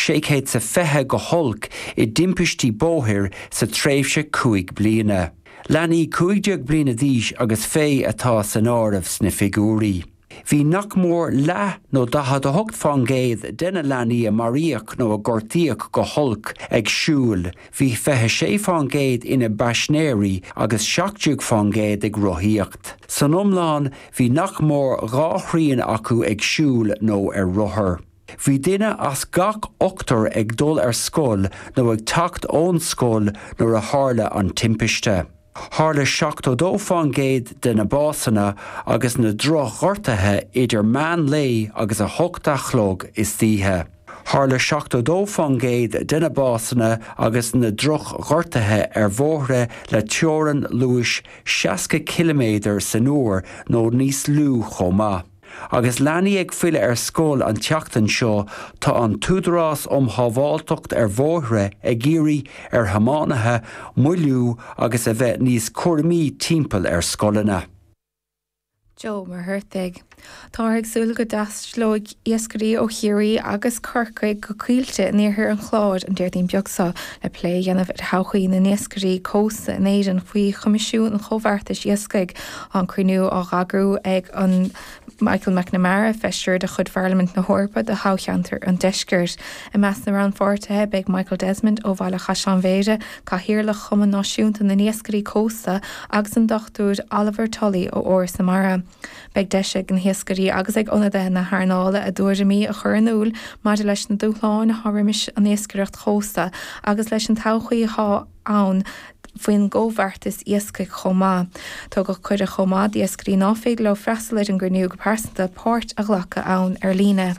620 go holc i dtimpistí bóthair sa tréimhse 5 bliana. Leanaí 15 bliana d'aois agus fé atá san áireamh sna figiúirí. Bhí nach mór leath nó 48% de na leanaí a maraíodh nó a gortaíodh go holc ag siúl, bhí 26% ina bpaisinéirí agus 17% ag rothaíocht. San iomlán, bhí nach mór 2 thrian acu ag siúl nó ar rothar. Bhí duine as gach ochtar ag dul ar scoil nó ag teacht ón scoil nuair a tharla an timpiste. Tharla 72% de na básanna agus na drochghortuithe idir meán lae agus 8 a chlog istoíche. Tharla 72% de na básanna agus na drochghortuithe ar bhóithre le teorainn luais 60 ciliméadar san uair nó níos lú chomh maith. Agus leanaí ag filleadh ar scoil an tseachtain seo, tá an tÚdarás um Shábháilteacht ar Bhóithre ag iarraidh ar thiománaithe moilliú agus a bheith níos cúramaí timpeall ar scoileanna. Joe Ó Muircheartaigh. Táthar ag súil go dtaistealóidh iascairí ó Chiarraí agus Corcaigh go Coillte in iarthar an Chláir an Déardaoin beag seo le plé a dhéanamh ar thodhchaí na n-iascairí cósta in Éirinn faoi Choimisiún an Chomhbheartais Iascaigh. Tá an cruinniú á eagrú ag an Michael McNamara, feisire de chuid Pharlaimint na hEorpa do thoghcheantar an Deiscirt. I measc na rannpháirtithe beidh Michael Desmond ó Bhaile Chaisleáin Bhéarra, Cathaoirleach Chumann Náisiúnta na nIascairí Cósta agus an Dr Oliver Tully ó Fhoras na Mara. Beidh deis ag na hiascairí agus ag ionadaithe na hearnála a dtuairimí a chur in iúl maidir leis na dúshláin atá roimis an iascaireacht chósta agus leis an todhchaí atá ann faoin gComhbheartas Iascaigh chomh maith. Tugadh cuireadh chomh maith d'iascairí ná féidir leo freastal ar an gcruinniú go pearsanta páirt a ghlacadh ann ar líne.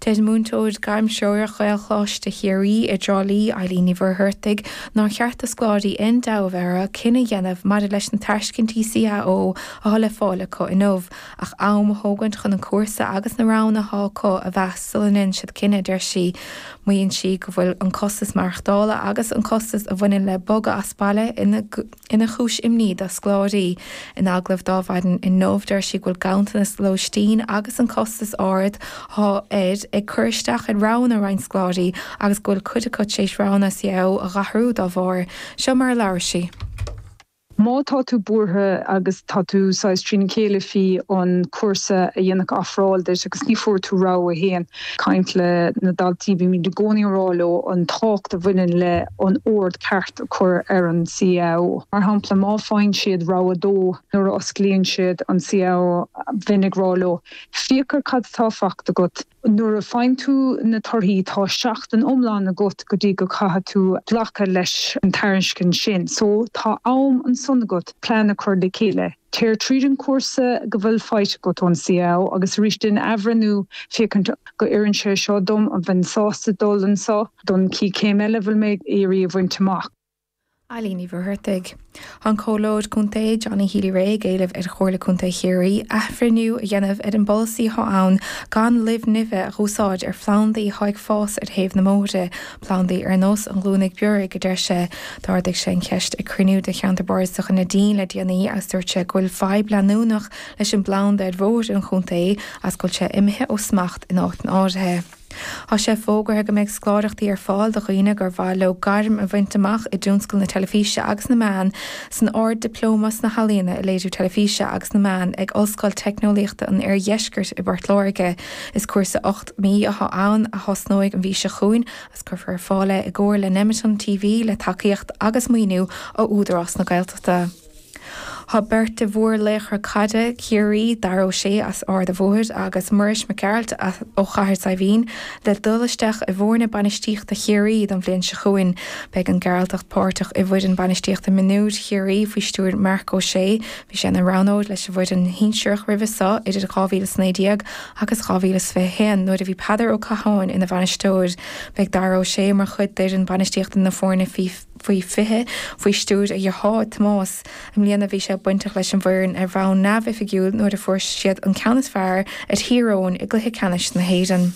Deir múinteoir gairmthreorach Ghaelcholáiste Chiarraí i dTrá Lí, Eileen Ní Mhuircheartaigh, nár cheart do scoláirí aon dabht a bheith orthu cinneadh a dhéanamh maidir leis na tairiscintí CAO atá le fáil acu inniu, ach am a thógaint chun an cúrsa agus na roghanna atá acu a mheas sula ndéanann siad cinneadh, deir sí. Maíonn sí go bhfuil an costas maireachtála agus an costas a bhaineann le bogadh as baile ina ina chúis imní do scoláirí. In agallamh d'Adhmhaidin inniu, deir sí go bhfuil ganntanas lóistín agus an costas ard atá air ag cur isteach ar roghanna roinnt scoláirí agus go bhfuil cuid acu tar éis roghanna CAO a dh'athrú dá bharr. Seo mar a labhair sí. Má tá tú buartha agus tá tú saghas trína chéile faoi an cúrsa a dhéanfadh ofráil duit agus ní fuair tú rogha a haon, caint le na daltaí, bímid i gcónaí ag rá leo an tábhacht a bhaineann le an ord ceart a chur ar an CAO. Mar shampla, má faigheann siad rogha a dó nuair a osclaíonn siad an CAO, bheinn ag rá leo, féach ar cad atá faighte agat, Nuair a faigheann tú na torthaí, tá seachtain iomlán agat go dtí go caithfidh tú glacadh leis an tairiscint sin. So, tá am ansan agat plean a chur le chéile. Téir tríd an cúrsa go bhfuil faighte agat ón CAO agus arís déan athbhreithniú féachaint go oireann sé seo dom, an bheinn sásta dul anso don chéad chéim eile a bhfuil mé ag iarraidh a bhaint amach. Eileen Ní Mhuircheartaigh. Tá an Comhairleoir Contae Johnny Healy-Rae ag éileamh ar Chomhairle Contae Chiarraí athbhreithniú a dhéanamh ar an bpolasaí atá ann gan luibh nimhe a dh'úsáid ar phlandaí atá ag fás ar thaobh na mbóithre, plandaí ar nós an ghlúinigh bioraigh, a deir sé. D'ardaigh sé an cheist ag cruinniú de Cheantar Bardasach na Neidín le déanaí agus dúirt sé go bhfuil fadhb leanúnach leis an bplanda ar bhóithre an chontae agus go bhfuil sé imithe ó smacht in áiteanna áirithe. Tá sé fógartha go mbeidh scoláireachtaí ar fáil do dhaoine gur mhaith leo gairm a bhaint amach i dtionscal na teilifíse agus na meán san Ard-Dioplóma sna hEalaíona i Léiriú Teilifíse agus na Meán ag Ollscoil Teicneolaíochta an Oirdheiscirt i bPort Láirge. Is cúrsa 8 mí atá ann a thosnóidh an mhí seo chugainn agus cuirfear ar fáil é i gcomhar le Nemeton TV le tacaíocht agus maoiniú ó Údarás na Gaeltachta. Tá beirt de mhórlaochra caide Chiarraí, Dara O'Shea as Ard a' Bhóthair agus Muiris Mac Gearailt ó Chathair Saidhbhín, le dul isteach i bhfoirne bainistíochta Chiarraí don bhliain seo chugainn. Beidh an Gearaltach páirteach i bhfoireann bainistíochta mionúir Chiarraí faoi stiúir Marc Ó Sé. Bhí sé ina roghnóir leis an bhfoireann shinsearach roimhe seo idir 2019 agus 2021 nuair a bhí Peadar Ó Catháin ina bhainisteoir. Beidh Dara O'Shea mar chuid d'fhoireann bainistíochta na foirne faoi 20, faoi stiúir a dhearthár, Tomás. I mbliana bhí sé bainteach leis an bhfoireann ar bhonn neamhoifigiúil nuair a fuair siad an ceann is fearr ar Thír Eoghain i gcluiche ceannais na hÉireann.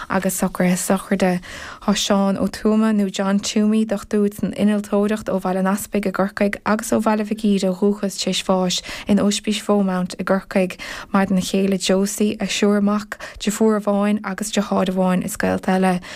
Agus socruithe sochraide. Tá Seán Ó Tuama, nó John Toomey, dochtúir san innealtóireacht ó Bhaile an Easpaig i gCorcaigh agus ó Bhaile Mhic Íre ó dhúchas tar éis bháis in Ospís Bheaumount i gCorcaigh. Maireann a chéile Josie, a thriúr mac, deirfiúr amháin agus deartháir amháin is gaolta eile.